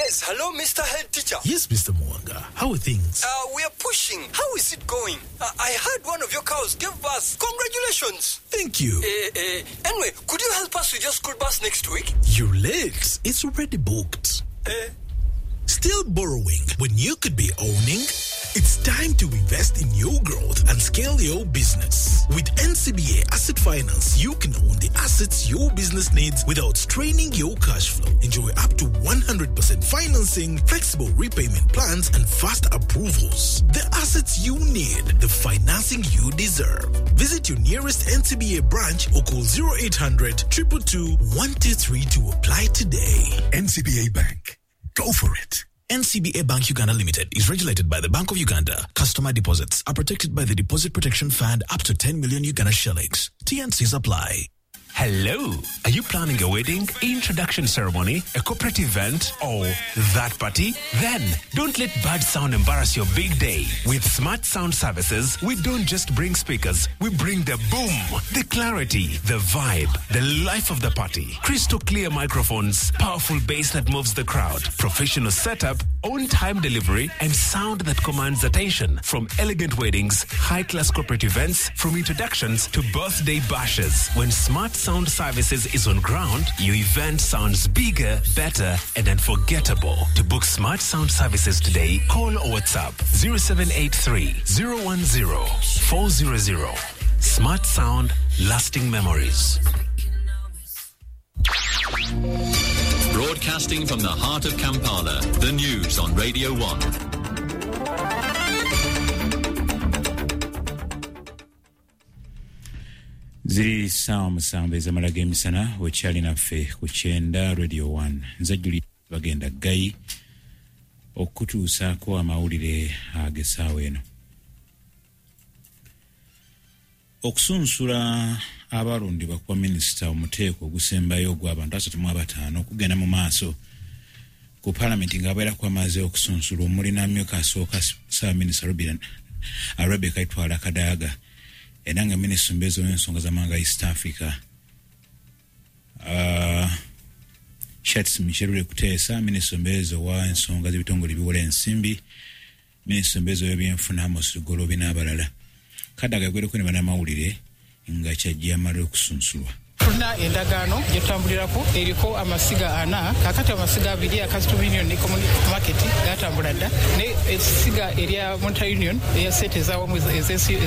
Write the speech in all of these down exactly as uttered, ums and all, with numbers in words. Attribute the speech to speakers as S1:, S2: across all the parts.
S1: Yes, hello, Mister Head Teacher.
S2: Yes, Mister Mwanga. How are things?
S1: Uh, we are pushing. How is it going? Uh, I heard one of your cows gave birth. Congratulations.
S2: Thank you.
S1: Uh, uh, anyway, could you help us with your school bus next week?
S2: You're late. It's already booked.
S1: Uh,
S2: Still borrowing when you could be owning? It's time to invest in your growth and scale your business. With N C B A Asset Finance, you can own the assets your business needs without straining your cash flow. Enjoy up to one hundred percent financing, flexible repayment plans, and fast approvals. The assets you need, the financing you deserve. Visit your nearest N C B A branch or call zero eight hundred, two two two, one two three to apply today.
S3: N C B A Bank. Go for it.
S4: N C B A Bank Uganda Limited is regulated by the Bank of Uganda. Customer deposits are protected by the Deposit Protection Fund up to ten million Uganda shillings. T N Cs apply.
S5: Hello. Are you planning a wedding, introduction ceremony, a corporate event, or that party? Then don't let bad sound embarrass your big day. With Smart Sound Services, we don't just bring speakers, we bring the boom, the clarity, the vibe, the life of the party. Crystal clear microphones, powerful bass that moves the crowd, professional setup, on-time delivery, and sound that commands attention. From elegant weddings, high-class corporate events, from introductions to birthday bashes. When Smart Sound Services is on ground, your event sounds bigger, better, and unforgettable. To book Smart Sound Services today, call or WhatsApp zero seven eight three, zero one zero, four zero zero. Smart Sound, lasting memories.
S6: Broadcasting from the heart of Kampala, the news on Radio one.
S7: Ziri sawa musanvu ezamala g'emisana wekyali naffe ku kyenda Radio one. Nze Julie bagenda Gayi okutuusaako amawulire ag'essaawa eno. Okusunsula abalondebwa kwa minisita omuteeko ogusembayo ogw'abantu asatu mu abataano okugenda mu maaso ku paalamenti ng'abeerako amaze okusunsula omuli n'amyuka asooka ssaabaminisita Rebecca Itwala Kadaga era nga minisita omubeezi w'ensonga z'amawanga East Africa uh, Shartsi Musherure Kuteesa, minisita omubeezi ow'ensonga z'ebitongole ebiwola ensimbi, minisita omubeezi ow'ebyenfuna Amos Lugoloobi n'abalala. Kadaga yagwereko ne bannamawulire nga kyajja amala okusunsulwa.
S8: Tulina endagaano gye tutambulirako eriko amasiga ana, kaakati amasiga abiri aka Customs Union ne Common Market gatambula dda, ne essiga erya Monetary Union eya ssente ez'awamu ez'ensi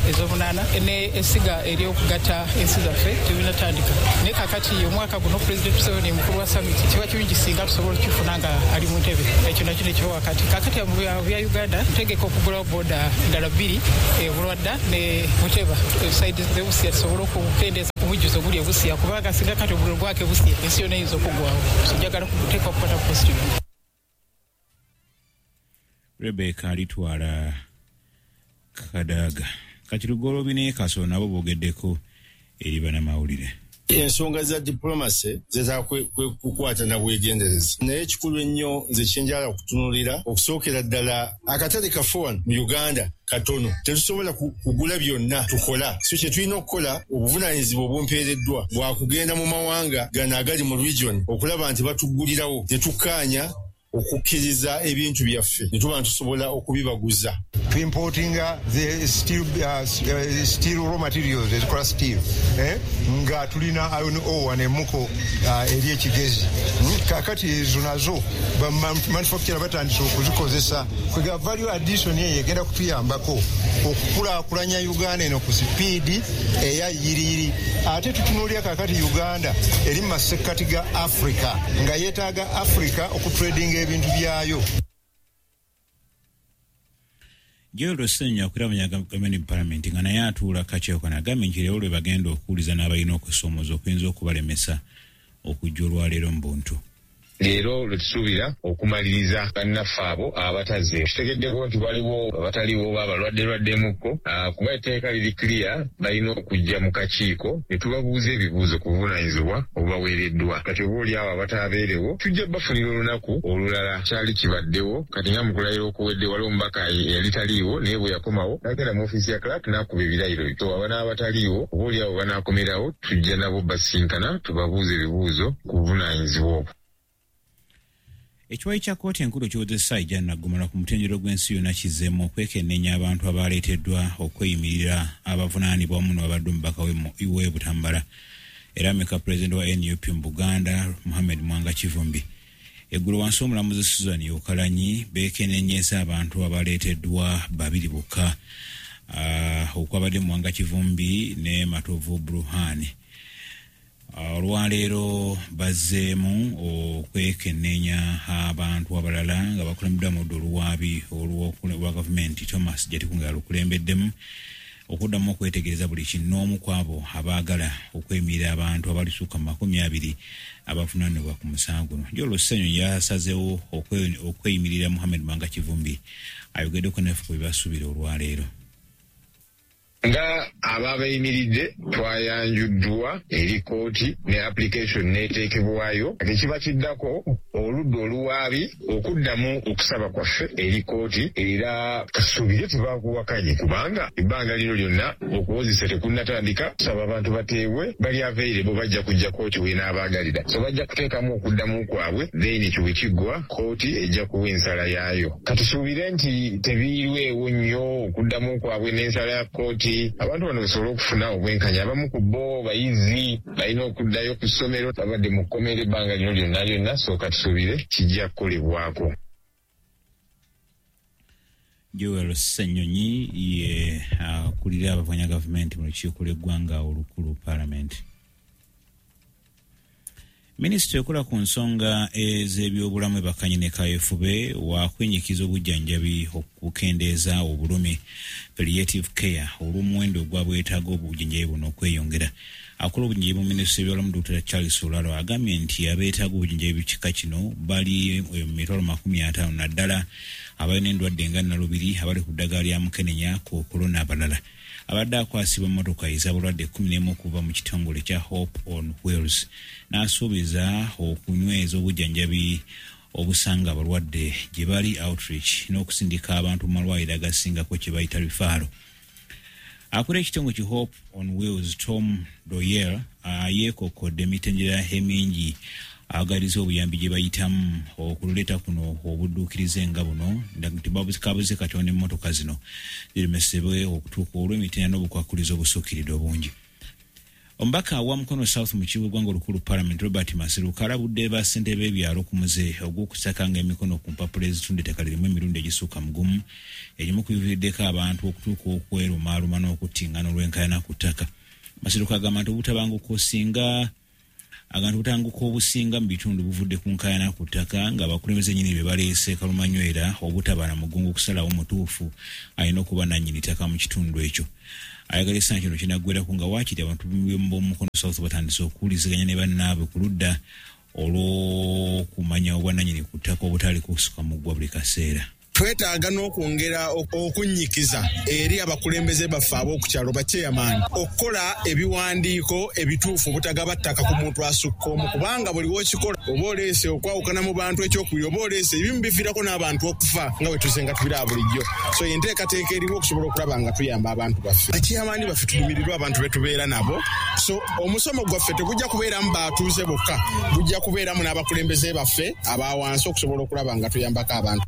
S8: ez'omunaana ne essiga ery'okugatta ensi zaffe tebinatandika. Naye kaakati omwaka guno Pulezidenti Museveni mukulu wa summit kiba kirungi singa tusobola okukifuna nga ali mu ntebe, ekyo nakyo ne kiba wakati. Kaakati mu bya Uganda ntegeka okugulawo booda ndala bbiri, e Bulwadda ne Buteba, saidi z'e Busia tusobole okukendeeza omujjuzo guli e Busia, kubanga singa kati omuliro gwaka e Busia ensi yonna eyinza okuggwawo. So njagala kuteeka okukwata ku positive.
S7: Rebecca Alitwala Kadaga. Kati Lugoloobi ne Kasolo nabo boogeddeko eri bannamawulire.
S9: Ensonga za diplomacy zetaaga kukwata na bwegendereza, naye ekikulu ennyo nze kyenjala okutunuulira okusookera ddala akatale kaffe wano mu Uganda katono, tetusobola kugula byonna tukola. So kye tulina okukola, obuvunaanyizibwa obumpeereddwa bwa kugenda mu mawanga gano agali mu region okulaba nti batugulirawo ne tukkaanya okukkiriza ebintu byaffe ne tuba ntusobola okubibaguza.
S10: Importinga the steel, uh, steel raw materials ezikola steel, eh? Nga tulina iron ore n'emuko uh, eri ekigezi. Hmm? Kaakati ezo nazo ba manufacturer batandise okuzikozesa. Kwega value addition eyo egenda kutuyambako okukulaakulanya Uganda eno ku sipiidi eya yiriyiri. Ate tutunuulira kaakati Uganda eri mu masekkati ga Africa nga yeetaaga Africa okutradinga ebintu byayo.
S7: Joel Ssenyonyi akulira gavumenti mu paalamenti nga naye atuula kakiiko kano agambye nti leero lwe bagenda okuwuliza n'abalina okusoomooza okuyinza okubalemesa okujja olwaleero mu buntu.
S11: Leero lwe tusuubira okumaliriza bannaffe abo abatazze. Kitegeddeko nti waliwo abataliwo oba abalwadde lwaddemukko, kuba etteeka liri clear, balina okujja mu kakiiko ne tubabuuza ebibuuzo ku buvunaanyizibwa obubaweereddwa. Kati oba oli abo abataabeerewo tujja bafunira olunaku olulala. Kyali kibaddewo kati nga mu kulayira okuwedde waliwo omubaka eyali taliiwo, naye bwe yakomawo n'agenda mu ofiisi ya clerk n'akuba ebirayiro. So aba n'abataliiwo oba oli abo banaakomerawo tujja nabo basinkana tubabuuze ebibuuzo ku buvunaanyizibwa obwo.
S7: Ekiwayi kya kkooti enkulu kiwozesa ejja Naggomala ku mutendera gw'ensi yonna kizzeemu okwekenneenya abantu abaleeteddwa okweyimirira abavunaanibwa wamu n'abadde omubaka w'e Butambala era ameka pulezidenti wa N U P mu Buganda Muhammad Mwanga Kivumbi. Eggulo wansi w'omulamuzi Susan Okalanyi beekenneenyeza abantu abaleeteddwa babiri bokka uh, okwabadde Mwanga Kivumbi ne Matovu Bruhani. Olwaleero bazzeemu okwekenneenya abantu abalala nga bakulembeddwa mu ludda oluwaabi olwa gavumenti Thomas Jatikunga alukulembeddemu okuddamu okwetegereza buli kinnoomu ku abo abaagala okweyimirira abantu abalisuka mu makumi abiri abavunaanibwa ku musango guno. Joel Ssenyonyi yasazeewo okweyimirira Muhammad Mwanga Kivumbi ayogeddeko naffe ku bye basuubira olwaleero.
S11: Nga ababayimiridde twayanjuddwa eri kkooti ne application n'eteekebwayo. Ekiba kiddako oludda oluwaabi okuddamu okusaba kwaffe eri kkooti, era tusuubire tebakuwakanye kubanga ebbanga lino lyonna okuwozesa tekunnatandika. Tusaba abantu bateebwe bali available, bajja kujja kkooti w'enaabaagalira, so bajja kuteekamu okuddamu kwabwe, then ekyo bwe kiggwa kkooti ejja kuwa ensala yaayo. Katusuubire nti tebiirwewo nnyo okuddamu kwabwe n'ensala ya kkooti, abantu bano basobole okufuna obwenkanya. Abamu ku bo bayizi balina okuddayo ku ssomero, babadde mu kkomera ebbanga lino lyonna lyonna, so katusuubire kijja kukolebwako.
S7: Joel Ssenyonyi ye akulira abavuganya gavumenti mu lukiiko lw'eggwanga olukulu Parliament. Minisitule ekola ku nsonga ez'ebyobulamu ebakanye ne kaweefube wa kwenyikiza obujjanjabi okukendeeza obulumi palliative care olw'omuwendo ogwabwetaaga obujjanjabi buno okweyongera. Akola obujjanjabi mu minisitule y'ebyobulamu Doctor Charles Olalo agambye nti abeetaaga obujjanjabi kika kino bali mu mitwalo makumi ataano naddala abalina endwadde nga nnalubiri, abali ku ddagala lya mukenenya, kookolo n'abalala. Abadde akwasibwa emmotoka ez'abalwadde kkumi n'emu okuva mu kitongole kya Hope on Wheels n'asuubiza okunyweza obujjanjabi obusanga abalwadde gye bali outreach n'okusindika abantu mu malwaliro agasingako kye bayita rifaalo. Akulira ekitongole ki Hope on Wheels Tom Doyer yeekokkodde emitendera emingi agaliza obuyambi gye bayitamu okuleeta kuno obudduukirize nga buno kabuze katono emmotoka zino ziremesebwe okutuuka olw'emitendera n'obukwakulizo obusukkiridde obungi. Omubaka wa Mukono South mu kibuga ggwanga olukulu Parliament Robert Maseruka alabudde bassentebe b'ebyalo ku muze ogw'okusakanga emikono ku mpapula ezitunda ettaka lirimu emirundi egisukka mu gumu egimu ku biviiriddeko abantu okutuuka okwerumaaluma n'okuttingana olw'enkaayana ku ttaka. Maseruka agamba nti obutabanguko singa agantu butanguka obusinga mu bitundu buvudde ku nkaayana ku ttaka ng'abakulembeze nnyini be baleese kalumanywera obutabala mugongo okusalawo mutuufu alina okuba nannyini ttaka mu kitundu ekyo. Ayagala essaawa kino kinaggwerako nga waakiri abantu b'omu Mukono South batandise okuwuliziganya ne bannaabwe ku ludda olw'okumanya obwannannyini ku ttaka obutali kusuka muggwa buli kaseera.
S12: Twetaaga n'okwongera okunnyikiza eri abakulembeze baffe ab'oku kyalo bachairman okukola ebiwandiiko ebituufu obutagaba ttaka ku muntu asukka omu, kubanga buli w'okikola oba oleese okwawukana mu bantu. Ekyokubiri, oba oleese ebimu biviirako n'abantu okufa nga bwe tuzenga tubiraba bulijjo. So enteekateeka eriwo okusobola okulaba nga tuyamba abantu baffe. Bachairman baffe tulumirirwa abantu be tubeera nabo, so omusomo gwaffe tegujja kubeeramu batuuze bokka, gujja kubeeramu n'abakulembeze baffe aba wansi okusobola okulaba nga tuyambako abantu.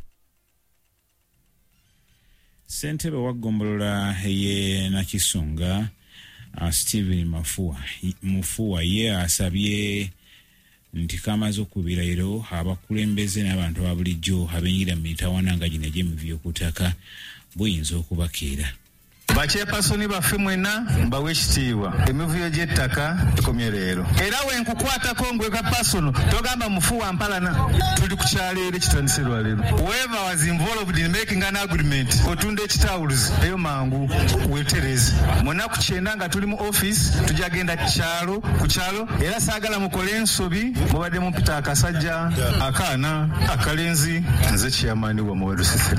S7: Ssentebe wa ggombolola ey'e Nakisunga uh, Stephen Mafua Mufuwa ye asabye nti kamaze okubirayiro abakulembeze n'abantu aba bulijjo abeenyigira mu mitawaana nga gino egy'emivuyo ku ttaka buyinza okubakeera.
S13: Bachairpersoni baffe mwenna mbawe ekitiibwa, emivuyo gy'ettaka ekomye leero, era wenkukwatako ngweka pasono togamba mufuwa mpalana. Tuli ku kyalo era ekitandise lwaleero. Whoever was involved in making an agreement otunda ekitawuluzi eyo mangu wetereze. Munaku kyenda nga tuli mu office tujja genda kyalo ku kyalo, era saagala mukole ensobi. Mubadde mumpita akasajja akaana akalenzi, nze chairman wa Muweru System.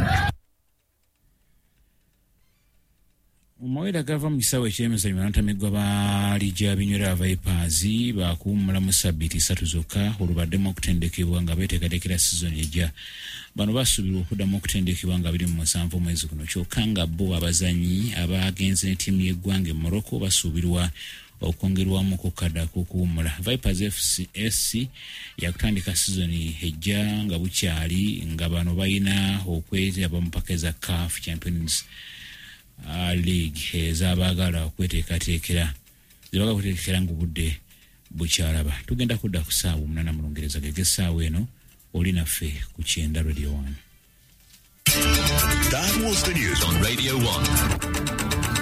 S7: Omawulire agava mu kisaawe eky'emizannyo, banatamiggwa ba liigi ya binywera Vipers bakuwummulamu sabbiiti ssatu zokka olubaddemu okutendekebwa nga beeteekateekera sizoni ejja. Bano basuubirwa okuddamu okutendekebwa nga biri mu musanvu omwezi guno, kyokka nga bo abazannyi abagenze ne ttiimu y'eggwanga e Morocco basuubirwa Okwongerwamu ku kadde ak'okuwummula. Vipers F C S C yakutandika sizoni ejja nga bukyali, nga bano balina okwetaba mu mpaka eza CAF Champions uh, League ez'abaagala okweteekateekera, zebagala okweteekateekera ng'obudde bukyalaba. Tugenda kudda ku ssaawa omunaana mu Lungereza gege essaawa eno oli naffe ku Kyenda Radio one.
S6: That was the news on Radio one.